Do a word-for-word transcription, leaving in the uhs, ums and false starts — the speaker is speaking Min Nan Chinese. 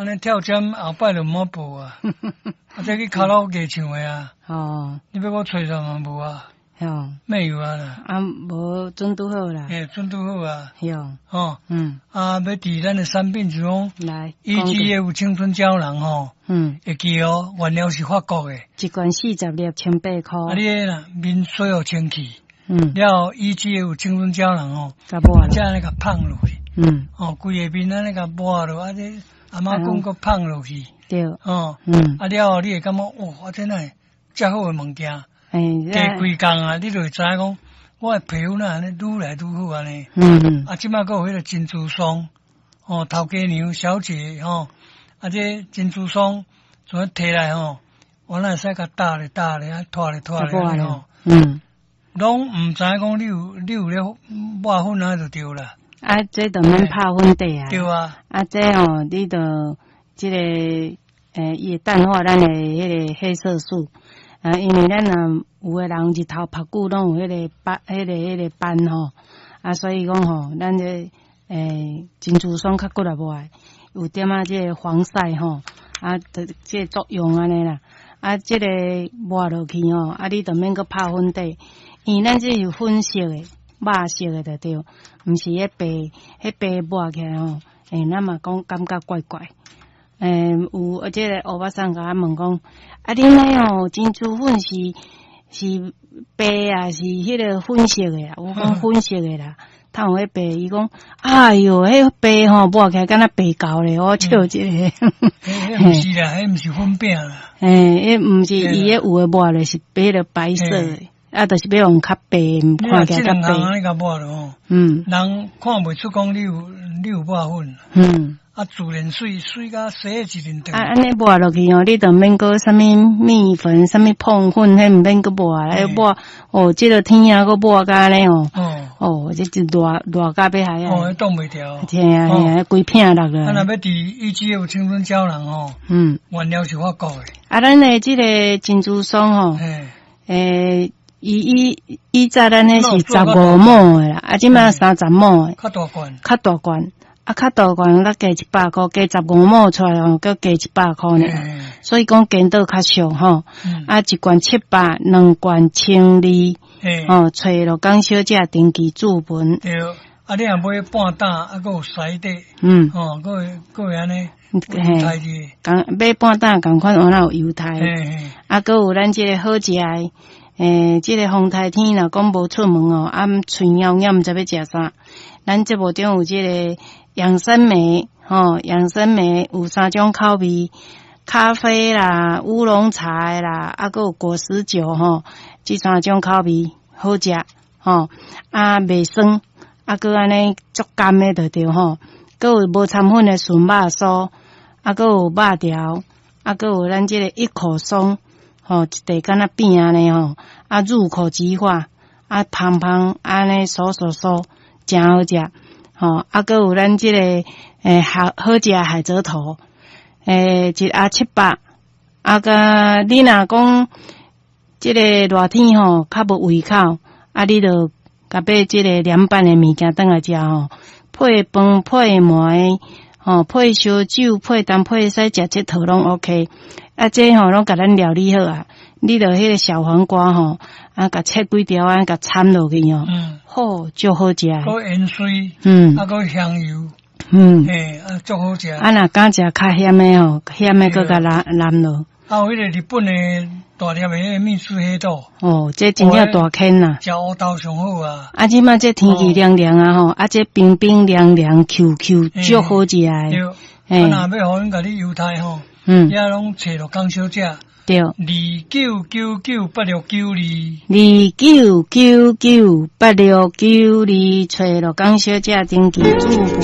按呢跳針後擺就毋好報啊，啊這去卡拉 OK 唱的啊。哦。你欲我揣上嘛無啊？哦。沒有啊啦。啊，無準拄好啦。嘿，準拄好啊。哟。哦。嗯。啊，欲佇咱的產品就講，來。 E G F 青春膠囊吼。嗯。會記哦，原料是法國的。一罐四十粒，千八箍。啊，你彼啦，面洗予清氣。嗯。了後 E G F 青春膠囊吼，才按呢共噴落去。嗯。哦，規个面按呢共抹落，啊這阿媽講閣噴落去。對。哦。嗯。啊了後，你會感覺哇，啊這哪會遮好的物件？欸。加幾工啊，你就會知影講，我的皮膚哪按呢愈來愈好按呢。嗯嗯。啊，這擺閣有彼個珍珠霜，哦，頭家娘小姐吼，啊這珍珠霜，怎提來吼，我哪會使共搭咧搭咧，啊拖咧拖咧吼。嗯。攏毋知影講你有你有咧抹粉啊就對啦。啊，這就免拍粉底啊。對啊。啊，這吼，你就這個，欸，伊會淡化咱的彼個黑色素。啊，因為咱若有的人日頭曬久，攏有彼個斑，彼個彼個斑吼。啊，所以講吼，咱這欸珍珠霜較骨力抹，有點仔這個防曬吼，啊，這這個作用按呢啦。啊，這個抹落去吼，啊，你就免閣拍粉底，因為咱這是粉色的、肉色的就對，毋是彼白，彼白抹起來吼，欸，咱嘛講感覺怪怪。欸，有這個歐巴桑共我問講，啊，恁彼吼珍珠粉是是白啊，是彼個粉色的啊？我講粉色的啦，他有彼白，伊講，哎喲，彼白吼抹起來敢若白猴咧，我笑一下。彼毋是啦，彼毋是粉餅啦。欸，彼毋是伊彼有的抹咧是彼個白色的，啊，就是欲予較白，看起來較白。這兩項按呢共抹落吼，嗯，人看袂出講你有你有抹粉。嗯。啊，自然媠，媠甲洗一陣啊，按呢抹落去吼，你就免閣啥物麵粉、啥物膨粉，彼毋免閣抹啊，抹哦，這個天啊，閣抹甲按呢吼。哦。哦，這就熱熱甲欲害啊！哦，擋袂牢。嘿啊嘿啊，規片落來。啊，若欲佇 E G F 青春膠囊吼，嗯，原料是法國的。啊，咱的這個珍珠霜吼，欸，伊以以早咱彼是十五畝的啦，啊，這擺三十畝的。較大罐。較大罐。啊，較大罐，咱加一百箍，加十五畝出來吼，閣加一百箍爾。所以講顛倒較俗吼。啊，一罐七百，兩罐千二。哦，揣鹿港小姐登記注文。對，啊，你若買半擔，啊，閣有篩底。嗯。哦，閣會閣會按呢。嘿，仝買半擔仝款，有哪有猶太。啊，閣有咱這個好食的，欸，這個風颱天若講無出門哦，啊，喙枵枵，毋知欲食啥。咱節目中有這個養生莓，吼，養生莓有三種口味，咖啡啦、烏龍茶啦，啊，閣有果實酒吼，這三種口味好食，吼，啊，袂酸，啊，閣按呢足甘的就對吼，閣有無摻粉的純肉酥，啊，閣有肉條，啊，閣有咱這個一口鬆，吼，一塊敢若餅按呢吼，啊，入口即化，啊，芳芳按呢酥酥酥，誠好食，吼，啊，閣有咱這個欸好好食的海蜇頭，欸，一盒七百，啊，佮你若講這個熱天吼較無胃口，啊，你就共買這個涼拌的物件轉來食吼，配飯配糜，吼，配燒酒配淡配使食這套攏 OK，啊，這吼攏共咱料理好啊，你就彼個小黃瓜吼，啊，共切幾條啊，共摻落去吼，好，足好食。閣芫荽，嗯，啊，閣香油，嗯，嘿，啊，足好食。啊，若敢食較鹹的吼，鹹的閣共淋淋落。啊，有彼個日本的大粒的彼個蜜絲黑豆。哦，這真正大坑啦。食烏豆上好啊。啊，這擺這天氣涼涼啊吼，啊，這冰冰涼涼 Q Q，足好食的。對。啊，若欲予阮共你猶太吼，嗯，遐攏揣鹿港小姐。對。二九九九八六九二。二九九九八六九二，揣鹿港小姐登記注。